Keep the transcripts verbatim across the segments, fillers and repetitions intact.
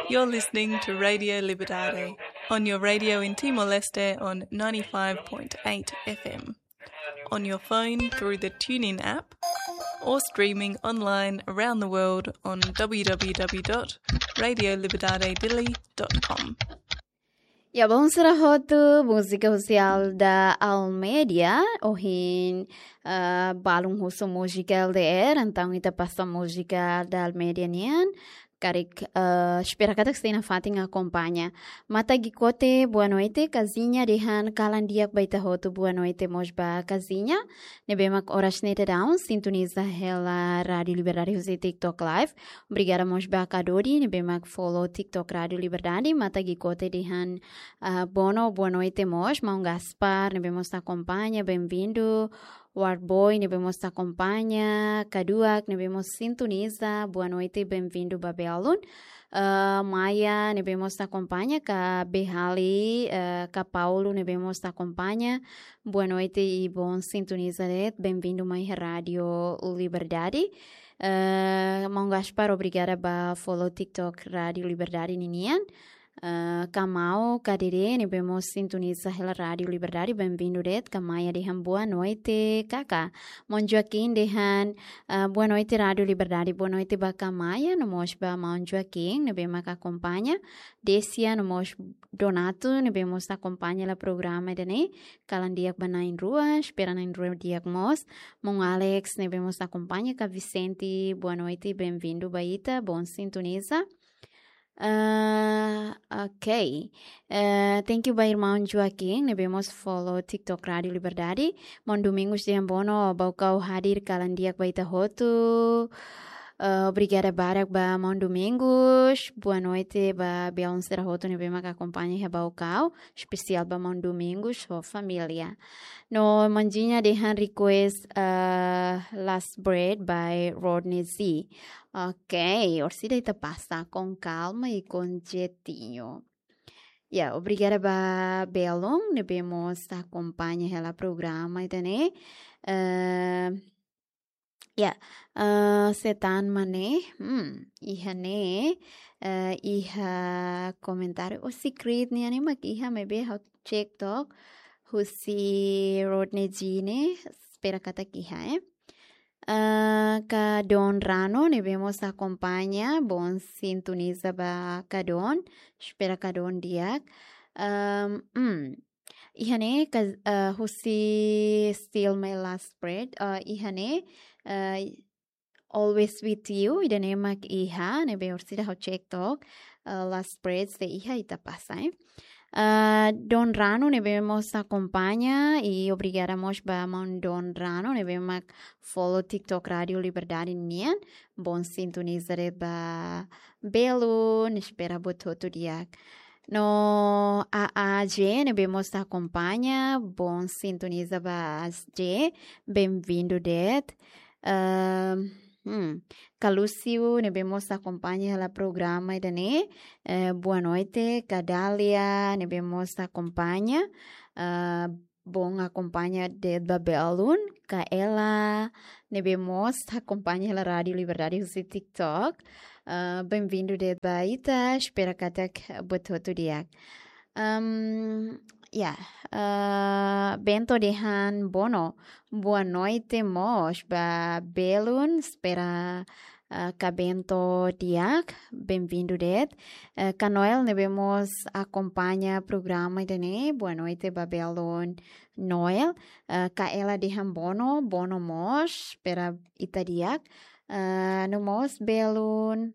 You're listening to Radio Liberdade on your radio in Timor-Leste on ninety-five point eight F M, on your phone through the TuneIn app, or streaming online around the world on w w w dot radio liberdade dili dot com. Ya, bom sira hotu, múzika husi Alda Almeida, ohin, ah, balun husu múzika L D R, entaun ita pasa múzika Alda Almeida nian, karik, ah, espera katak sei nafatin akompaña. Mata Gikote, boa noite, Kazinha, dehan kalan di'ak ba ita hotu, boa noite mós ba Kazinha, ne'ebé mak oras ne'e daudaun sintoniza hela Rádio Liberdade husi TikTok Live. Obrigada mós ba Kadodi, ne'ebé mak follow TikTok Rádio Liberdade, Mata Gikote dehan, ah, bono, boa noite mós, Maun Gaspar, ne'ebé mós akompaña, bem-vindo, Warboy, ne'ebé mós akompaña, Kaduak, ne'ebé mós sintoniza, boa noite, bem-vindo ba belun. Ah, Maia, ne'ebé mós akompaña, ka Behali, ah, ka Paulo, ne'ebé mós akompaña, boa noite i bom sintoniza de'it, bem-vindo mai Rádio Liberdade. Ah, Maun Gaspar, obrigada ba follow TikTok Rádio Liberdade ninian. Ah, ka Mau, ka Dede, ne'ebé mós sintoniza hela Rádio Liberdade, bem-vindo de'it, ka Maia dehan boa noite, kaka. Maun Joaquim dehan, ah, boa noite Rádio Liberdade, boa noite ba ka Maia, no mós ba Maun Joaquim, ne'ebé mak akompaña, Desia, no mós Donato, ne'ebé mós akompaña hela programa ida-ne'e, kalan di'ak ba na'in-rua, espera na'in-rua di'ak mós. Maun Alex, ne'ebé mós akompaña, ka Vicente, boa noite, bem-vindo ba ita, bom sintoniza. Ah, ok. Eh, thank you ba irmaun Joaquim, ne'ebé mós follow TikTok Rádio Liberdade. Maun Domingos dehan bono, Baucau hadir kalan di'ak ba ita hotu. Eh, obrigada barak ba Maun Domingos. Boa noite ba belun sira hotu ne'ebé mak akompaña iha Baucau. Espesiál ba Maun Domingos ho família. No Mandinha dehan request, eh, Last Breath by Rodney Z. Ok, orsida ita pasa com calma e com jeitinho. Ya, obrigada ba belun ne'ebé mós akompaña hela programa ida-ne'e. Eh, ya, eh, Setan Mane, hmm, iha ne'e, eh, iha komentáriu, o secret nian ne'e mak iha, maibé ha'u cek took, husi Rodney G ne'e, espera katak iha, eh. Ah, ka Don Rano, ne'ebé mós akompaña, bom sintoniza ba ka Don, espera ka Don di'ak. Ehm, hmm. Iha ne'e ka, ah, husi Still My Last Breath, ah, iha ne'e, ah, Always With You, ida-ne'e mak iha, ne'ebé orsida ha'u cek took, ah, Last Breath se iha ita pasa, eh. Ah, Don Rano ne'ebé mós akompaña, i obrigada mós ba maun Don Rano ne'ebé mak follow TikTok Rádio Liberdade nian. Bom sintoniza de'it ba belun, espera buat hotu di'ak. No A A J ne'ebé mós akompaña, bom sintoniza ba A A J, bem-vindo de'it. Ehm, hmm, ka Lúcio ne'ebé mós akompaña hela programa ida-ne'e. Eh, boa noite, ka Dália ne'ebé mós akompaña. Ah, bom akompaña de'it ba belun, ka Ela ne'ebé mós akompaña hela Rádio Liberdade husi TikTok. Ah, bem-vindo de'it ba ita, espera katak buat hotu di'ak. Ehm, ya, eh, Bento dehan bono, boa noite mós ba belun, espera, eh, ka Bento di'ak, bem-vindo de'it. Eh, ka Noel ne'ebé mós akompaña programa ida-ne'e, boa noite ba belun Noel. Eh, ka Ela dehan bono, bono mós, espera ita di'ak. Eh, no mós belun,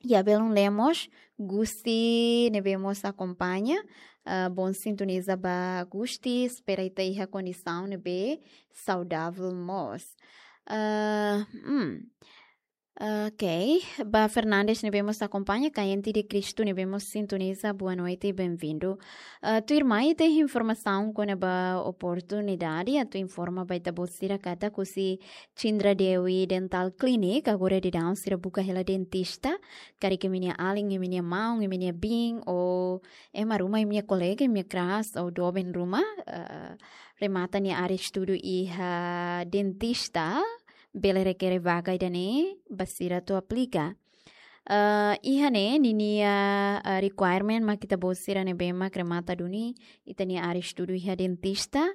ya, belun Lemos, Gusti ne'ebé mós akompaña, ah, bom sintoniza ba Gusti, espera ita iha kondisaun ne'ebé saudável mós. Ah, hmm. Ok, ba Fernandes ne'ebé mós akompaña, Kayente de Cristo ne'ebé mós sintoniza, boa noite, bem-vindo. Ah, tuirmai ita iha informasaun kona-ba oportunidade, atu informa ba ita-boot sira katak husi Cindra Dewi Dental Clinic, agora daudaun sira buka hela dentista, karik imi-nia alin, imi-nia maun, imi-nia biin, ou ema ruma, imi-nia kolega, imi-nia kras, ou doben ruma, eh, remata nia área estudu iha dentista, bele rekere vaga ida-ne'e, ba sira atu aplika. Ah, iha ne'e ninia, ah, requirement mak ita-boot sira ne'ebé mak remata duni ita-nia área estudu iha dentista.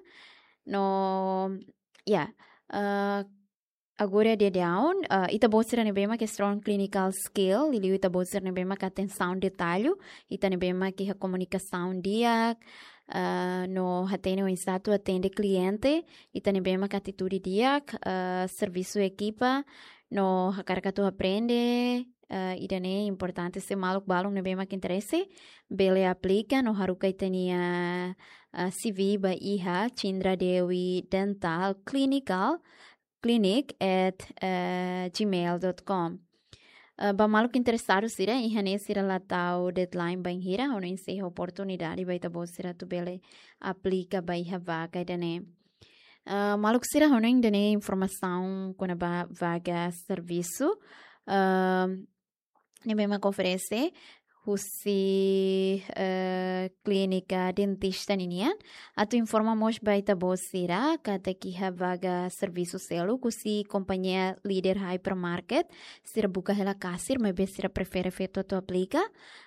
No, ya, ah, agora dia daudaun, ah, ita-boot sira ne'ebé mak strong clinical skill, liuliu ita-boot sira ne'ebé mak atensaun detallu, ita ne'ebé mak iha komunikasaun di'ak, ah, no hatene oinsá atu atende kliente, ita ne'ebé mak atitude di'ak, ah, servisu ekipa, no hakarak atu aprende, ah, ida-ne'e importante, se maluk balun ne'ebé mak interese, bele aplika no haruka ita-nia, ah, C V ba iha Cindra Dewi Dental Clinical, clinic at, eh, gmail dot com. Eh, ba maluk interesadu sira, iha ne'e sira la tau deadline bainhira, hodi enseha oportunidade ba ita-boot sira atu bele aplika ba iha vaga ida-ne'e. Eh, maluk sira, hodi ida-ne'e informasaun kona-ba vaga servisu, eh, ne'ebé mak oferese husi, eh, klínika dentista ninian. Atu informa mós ba ita-boot sira katak iha vaga servisu seluk husi kompañia líder hypermarket. Sira buka hela kasir, maibé sira prefere feto atu aplika.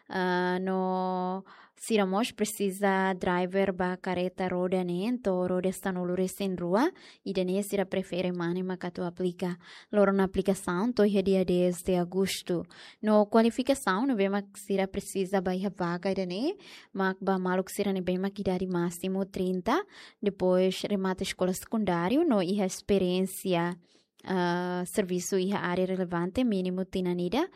Ah, no sira mós presiza driver ba kareta roda neen to'o roda sanulu-resin-rua, ida-ne'e sira prefere mane mak atu aplika. Loron aplikasaun to'o iha dia dez de agostu. No kualifikasaun ne'ebé mak sira presiza ba iha vaga ida-ne'e, mak ba maluk sira ne'ebé mak idade másimu trinta, depois remata eskola sekundáriu, no iha esperiénsia, ah, servisu iha área relevante mínimu tinan ida,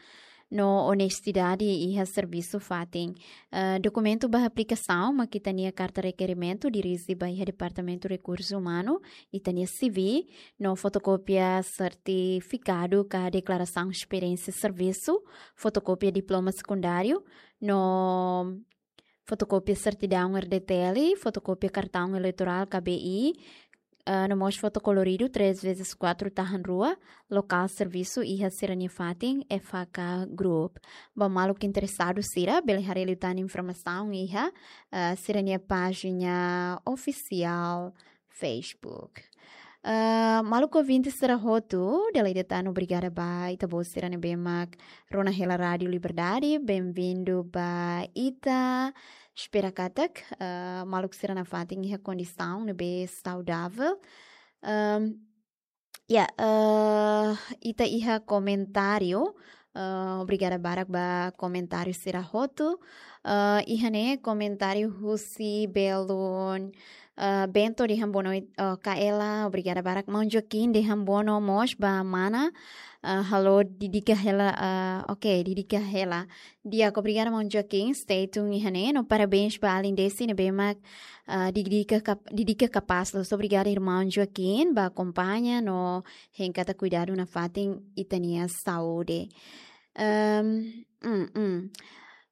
no onestidade iha servisu fatin. Ah, dokumentu ba aplikasaun, mak ita-nia karta rekerimentu dirije ba iha Departamentu Rekursu Umanu, ita-nia C V, no fotokópia sertifikadu ka deklarasaun esperiénsia servisu, fotokópia diploma sekundáriu, no fotokópia sertidaun R D T L, fotokópia kartaun eleitorál K B I, ah, no mós foto koloridu três vezes quatro tahan rua, lokál servisu iha sira-nia fatin F H K Group. Ba maluk interesadu sira, bele haree liután informasaun iha, ah, sira-nia pájina ofisiál Facebook. Ah, maluk ouvinte sira hotu, dala ida tan obrigada ba ita-boot sira ne'ebé mak rona hela Rádiu Liberdade, benvindu ba ita. Espera katak, ah, maluk sira nafatin iha kondisaun ne'ebé saudavel. Ahm, ya, eh, ita iha komentáriu, eh, obrigada barak ba komentáriu sira hotu. Eh, iha ne'e komentáriu husi belun, eh, Bento dehan boa noite, eh, Kaela, obrigada barak. Maun Joaquim dehan boa noite mós ba mana. Eh, halo, dedika hela, eh, oke, dedika hela. Di'ak, obrigada maun Joaquim, stay tuned iha ne'e. No parabéns ba alin Desi ne'ebé mak, eh, dedika kap-, dedika kapás loos. Obrigada irmaun Joaquim ba akompaña no hein katak kuidadu nafatin ita-nia saúde. Ehm, mm, mm.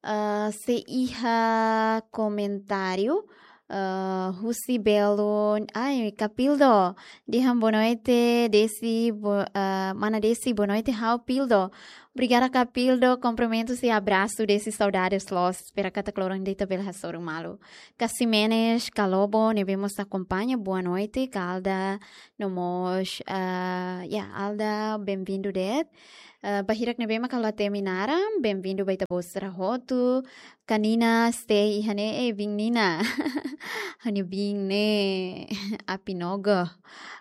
Ah, sei iha komentáriu, ah, husi belun, ai, Kapildo, dehan boa noite, Desi, bo-, ah, mana Desi, boa noite, ha'u Pildo. Obrigada, Kapildo, kumprimentus i abrasu Desi, saudades loos. Espera katak loron ida ita bele hasoru malu. Ka Ximenes, ka Lobo, ne'ebé mós akompaña, boa noite, ka Alda, no mós, ah, ya, Alda, benvindu de'it. Ah, ba hirak ne'ebé mak halo temi naran, benvindu ba ita-boot sira hotu. Ka Nina, stay iha ne'e, eh, biin Nina. Ha'u-nia biin ne'e, Apinogo.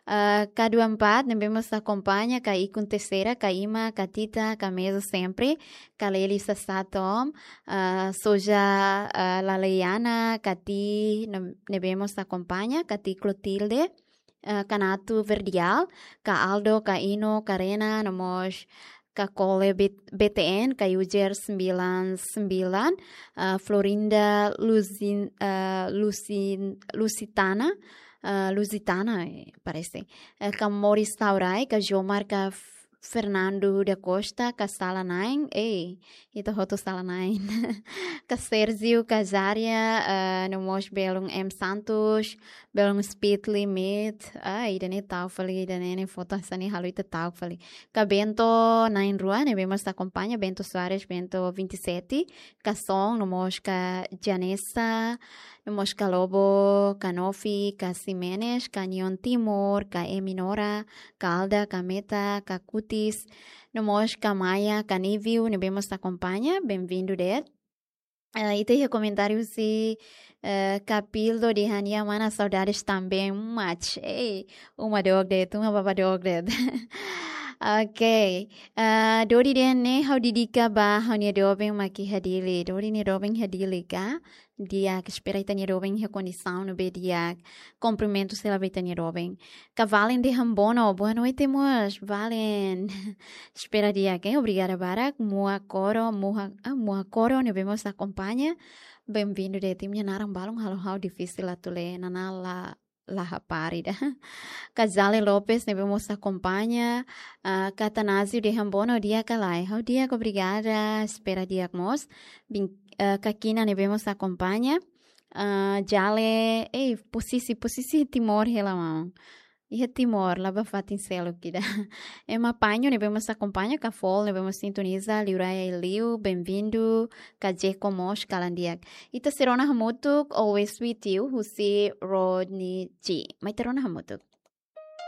Ah, ka dua empat, ne'ebé mós akompaña, ka Ikun Teixeira, ka Ima, ka Tita, ka Mezo sempre, ka Leli Sasatom, ah, Soja, ah, Laleiana, ka Ti, ne-, ne'ebé mós akompaña, ka Ti Clotilde, eh, ka Natu Verdial, ka Aldo, ka Ino, ka Rena, no mós ka Kole B-, B T N, ka User sembilan sembilan, eh, Florinda Luzin-, eh, Luzin-, Lusitana, eh, Lusitana, eh, parese. Eh, ka Moris Taurai, ka Jomar, ka F-, Fernando da Costa, ka Sala Nine, eh, ita hotu Sala Nine. Ka Sérgio, ka Zaria, eh, no mós belun M Santos, belun Speed Limit. Ah, ida-ne'e ta'uk fali, ida-ne'e, ne'e foto hanesan ne'e halo ita ta'uk fali. Ka Bento na'in-rua, ne'ebé mós akompaña, Bento Soares, Bento vinte e sete, ka Son, no mós ka Janessa, no mós ka Lobo, ka Nofi, ka Ximenes, ka Nion Timor, ka Eminora, ka Alda, ka Meta, ka Kutis, No mós ka Maia, ka Niviu, ne'ebé mós akompaña, bem-vindo de'it. Ah, ita iha komentáriu husi, eh, Capildo dehan: "Mana, saudades também, match." Ei, uma dook de'it, uma baba dook de'it. Ok. Ah, Dodi dehan ne'e ha'u dedika ba ha'u-nia doben mak iha Dili. Dodi nia doben iha Dili ka? Di'ak, espera ita-nia doben iha kondisaun ne'ebé di'ak. Kumprimentus hela ba ita-nia doben. Ka Valen dehan bono, boa noite mós, Valen. Espera di'ak, eh, obrigada barak. Mua Koro, Mua, ah, Mua Koro, ne'ebé mós akompaña. Bem-vindo de'it, imi-nia naran balun halo ha'u difisil atu lee, Nana La, La Hapari ida. Ka Jale Lopes, ne'ebé mós akompaña. Ah, ka Atanásio dehan bono, di'ak ka lae? Ha'u di'ak, obrigada. Espera di'ak mós. Bin, ah, ka Kina, ne'ebé mós akompaña. Ah, Jale, ei, posisi, posisi Timor hela maun. Iha Timor, la ba fatin seluk ida. Ema Paño, ne'ebé mós akompaña, ka Fol, ne'ebé mós sintoniza, Liu Raya i Liu, bem-vindo, ka Jeko mós, kalan di'ak. Ita sei rona hamutuk, Always With You, husi Rodney G. Mai ita rona hamutuk.